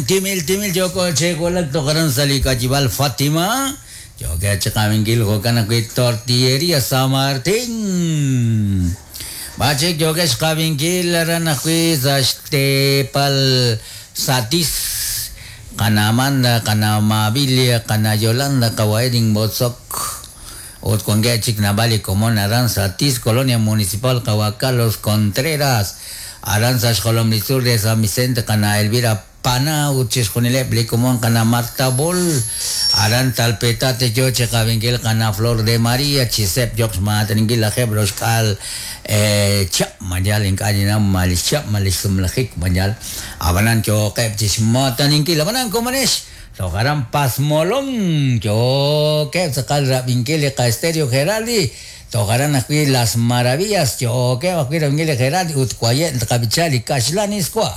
Timil timil yooko chi wulak toj aran sa' li k'ayib'aal Fatima, yookeb' chi qabinkil jo'kan ajwi' Tortilleria San Martín. B'ar chik yookeb' xqab'inkil aran ajwi' sa' xteepal Satis, qana Amanda, qana Mabilia, qana Yolanda, qawa' Edin Botzok, ut wankeb' chik naab'al li komon aran Satis, Colonia Municipal qawa' Carlos Contreras, aran sa' xjolom li tzuul re San Vicente qana Elvira Pana ut chixjunileb' li komon qana Marta Bol, aran Talpetate yo chi qab'inkil qana Flor de María, chi seeb' yoq xmaataninkil lajeeb' roxk'aal chihab' mayal ink'a' ninnaw ma li xchihab' ma li xsumlajik mayal ab'anan yooqeb' chi xmaataninkil ab'anan komonex toj aran Pasmolón yookeb' tz'aqal rab'inkil li qa'Estereo Geraldi toj aran ajwi' Las Maravillas yookeb' ajwi' rab'inkil li Geraldi ut waye' tqab'icha li kaxlan iswa.